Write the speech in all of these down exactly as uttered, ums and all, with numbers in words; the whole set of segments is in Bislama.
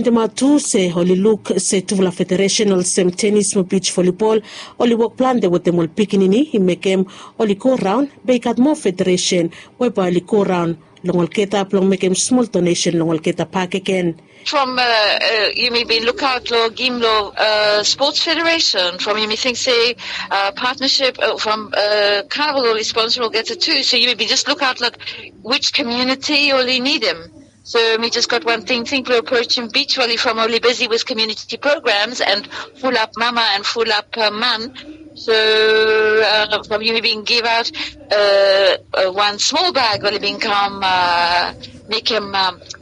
Dematu se oli luk se tufala federesen olsem tenis mo bij volibol oli wok plante wetem ol pikinini i mekem oli go raon, be i gat moa federesen we bae oli go raon long olgeta blong mekem smol donesen long olgeta bakegen. From yumi bin lukaot long gim long sports federation from yumi ting se partnership from carnival oli sponsor olgeta tu, so yumi bin jes lukaot long which community oli nidim. So mi jes gat wan tingting blong aprochim bij voli from oli bisi with community programs and fulap mama and fulap man. So from yumi bin givaot wan smol bag oli bin kam mekem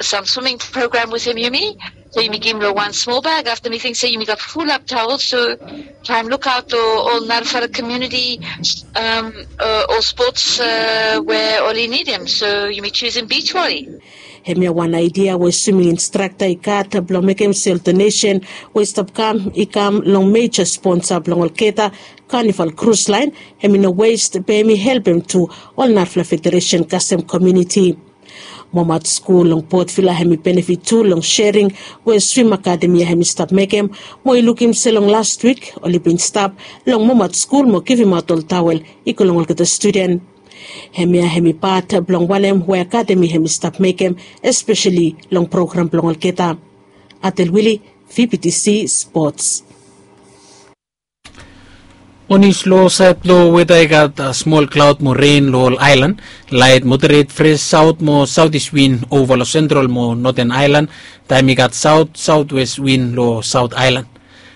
sam swimming program wetem yumi. So yumi gim long wan smol bag afta mi ting se yumi gat fulap tawel, so taem lukaot long ol narafala komuniti ol spots we oli nidim, so yumi jusim bij voli. Hemia wan aidia we swimming instrakta i gat blong mekem se ol donesen we i stap kam i kam long meja sponsa blong olgeta, kanival krus laen hem i no west be hem i helpem tu ol narafala federesen kasem komuniti. Momat skul long potvila hem i benefit tu long sering we swim akademi ya hem i stap mekem, mo i lukim se long last wik oli bin stap long momat skul mo givimaot ol tawel i go long olgeta studen. Hemia hem i pat blong wanem we akademi hem i stap mekem, espeseli long program blong olgeta. Atel wili, vptc sports. Onis long saed blong weda i gat smol klaod mo ren long ol aelan. Laet moderet fres saot mo saotis win ova long sentral mo noten aelan, taem i gat saot saotwes win long saot aelan.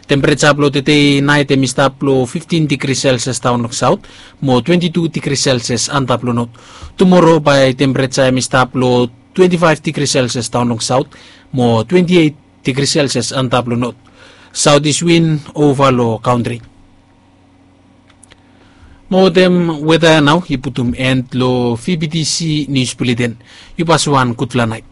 Tempereja blong tede naet hem i stap long fiftin digri selsias daon long saot mo twenti tu digri selsias antap long not. Tumoro bae tempereja hem i stap long twenti faef digri selsias daon long saot mo twenti eit digri selsias antap long not. Saotis win ova long kantri. Mo wetem weda ya nao i putum en long vptc nius buleten. Yu pasa wan gudfala naet.